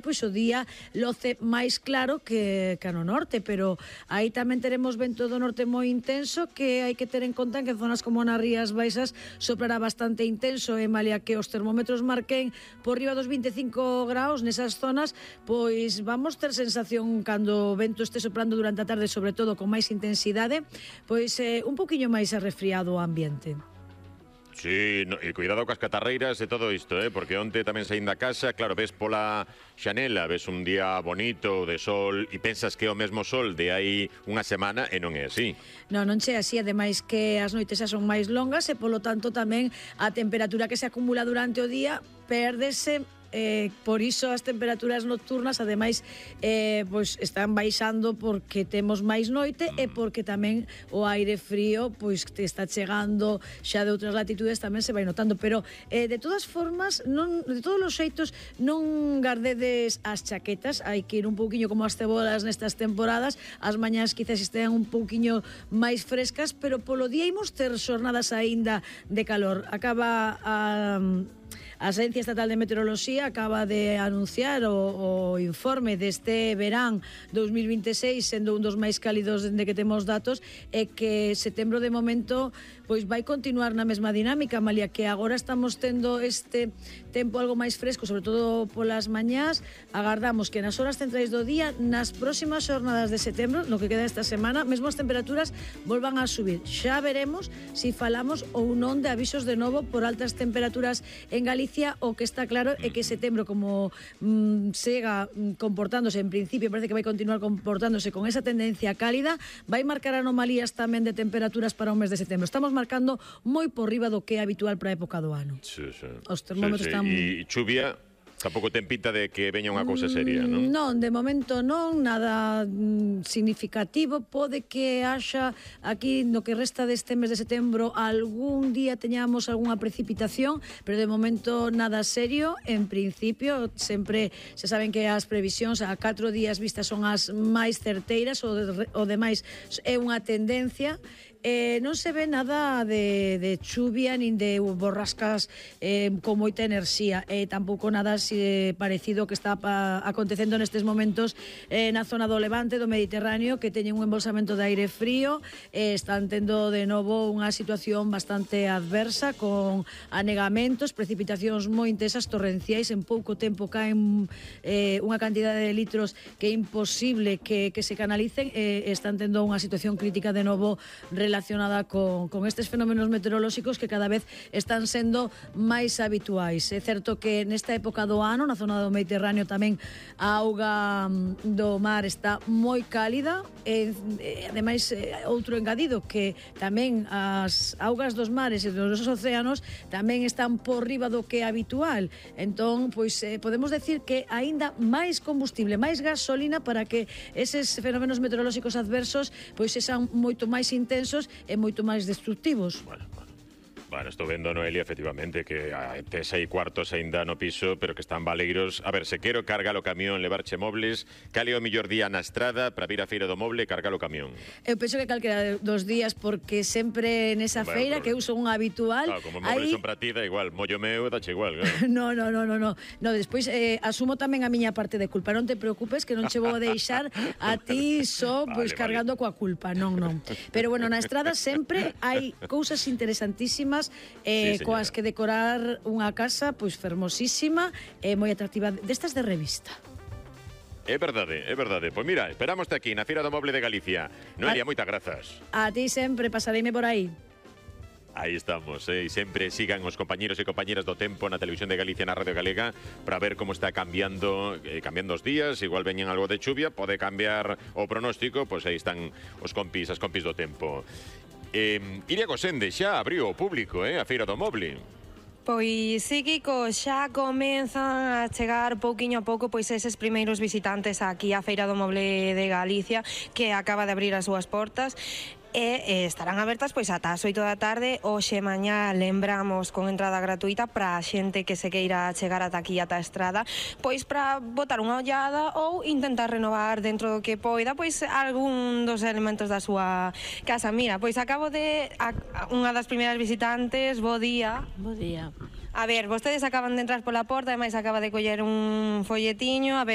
pois o día loce máis claro que no norte, pero aí tamén teremos vento do norte moi intenso, que hai que ter en conta que en zonas como nas Rías Baixas soprará bastante intenso, e malia que os termómetros marquen por riba dos 25 graus nesas zonas, pois vamos ter sensación cando o vento este soprando durante a tarde, sobre todo con máis intensidade, pois un poquinho máis arrefriado o ambiente. Sí, e cuidado coas catarreiras e todo isto, porque onte tamén saín da casa, claro, ves pola xanela, ves un día bonito de sol e pensas que é o mesmo sol de hai unha semana e non é así. Non che así, ademais que as noites xa son máis longas e polo tanto tamén a temperatura que se acumula durante o día pérdese. Por iso as temperaturas nocturnas ademais pois están baixando porque temos máis noite e porque tamén o aire frío pois te está chegando xa de outras latitudes, tamén se vai notando, pero de todas formas, de todos os xeitos, non gardedes as chaquetas, hai que ir un pouquiño como as cebolas nestas temporadas, as mañás quizás estean un pouquiño máis frescas, pero polo día imos ter xornadas aínda de calor. Acaba a Agencia Estatal de Meteoroloxía acaba de anunciar o informe deste verán 2026, sendo un dos máis cálidos dende que temos datos, e que setembro de momento pois vai continuar na mesma dinámica, malia que agora estamos tendo este tempo algo máis fresco, sobre todo polas mañás. Agardamos que nas horas centrais do día, nas próximas xornadas de setembro, no que queda esta semana, mesmo as temperaturas volvan a subir. Xa veremos se falamos ou non de avisos de novo por altas temperaturas en Galicia. O que está claro é que setembro, como siga comportándose, en principio parece que vai continuar comportándose con esa tendencia cálida, vai marcar anomalías tamén de temperaturas para o mes de setembro. Estamos marcando moi por riba do que é habitual para a época do ano. Sí. Os termómetros están... E chuvia... Tampouco ten pinta de que veña unha cousa seria, non? Non, de momento non, nada significativo. Pode que haxa aquí no que resta deste mes de setembro algún día teñamos algunha precipitación, pero de momento nada serio. En principio, sempre se saben que as previsións a 4 días vistas son as máis certeiras, o demais é unha tendencia. Non se ve nada de chuvia nin de borrascas con moita enerxía, tampouco nada parecido que está acontecendo nestes momentos na zona do Levante, do Mediterráneo, que teñen un embolsamento de aire frío, están tendo de novo unha situación bastante adversa, con anegamentos, precipitacións moi intensas, torrenciais, en pouco tempo caen unha cantidade de litros que é imposible que se canalicen, están tendo unha situación crítica de novo relacionada con estes fenómenos meteorolóxicos que cada vez están sendo máis habituais. É certo que nesta época do ano, na zona do Mediterráneo, tamén a auga do mar está moi cálida, e ademais outro engadido, que tamén as augas dos mares e dos océanos tamén están por riba do que é habitual. Entón, pois podemos decir que aínda máis combustible, máis gasolina para que eses fenómenos meteorolóxicos adversos pois sexan moito máis intensos e moito máis destructivos. Bueno, estou vendo, Noelia, efectivamente, que tes aí cuartos aínda no piso, pero que están baleiros. A ver, se quero cargar o camión, levarche mobles, cal é o mellor día na estrada para vir á feira do moble e cargar o camión? Eu penso que calquera dos días, porque sempre nesa feira, que eu son unha habitual... Claro, como mobles son para ti, da igual, mollo meu, dache igual, claro. No, despois asumo tamén a miña parte de culpa. Non te preocupes, que non che vou a deixar a ti só pois cargando coa culpa, non. Pero bueno, na estrada sempre hai cousas interesantísimas coas que decorar unha casa pois fermosísima e moi atractiva, destas de revista. É verdade. Pois mira, esperámoste aquí na Feira do Moble de Galicia. Noelia, moitas grazas. A ti sempre, pasareime por aí. Aí estamos, e sempre sigan os compañeros e compañeras do tempo na Televisión de Galicia, na Radio Galega, para ver como está cambiando os días. Igual veñen algo de chuvia, pode cambiar o pronóstico, pois aí están as compis do tempo. Iria Gosende xa abriu o público, a Feira do Moble. Pois sí, Kiko, xa comenzan a chegar pouquiño a pouco pois eses primeiros visitantes aquí á Feira do Moble de Galicia, que acaba de abrir as súas portas. E estarán abertas pois ata as 8 da tarde. Hoxe mañá lembramos con entrada gratuita para a xente que se queira chegar ata aquí, ata a estrada, pois para botar unha ollada ou intentar renovar dentro do que poida pois algún dos elementos da súa casa. Mira, pois acabo de unha das primeiras visitantes. Bo día. Bo día. A ver, vostedes acaban de entrar pola porta, ademais acaba de coller un folletiño. A ver,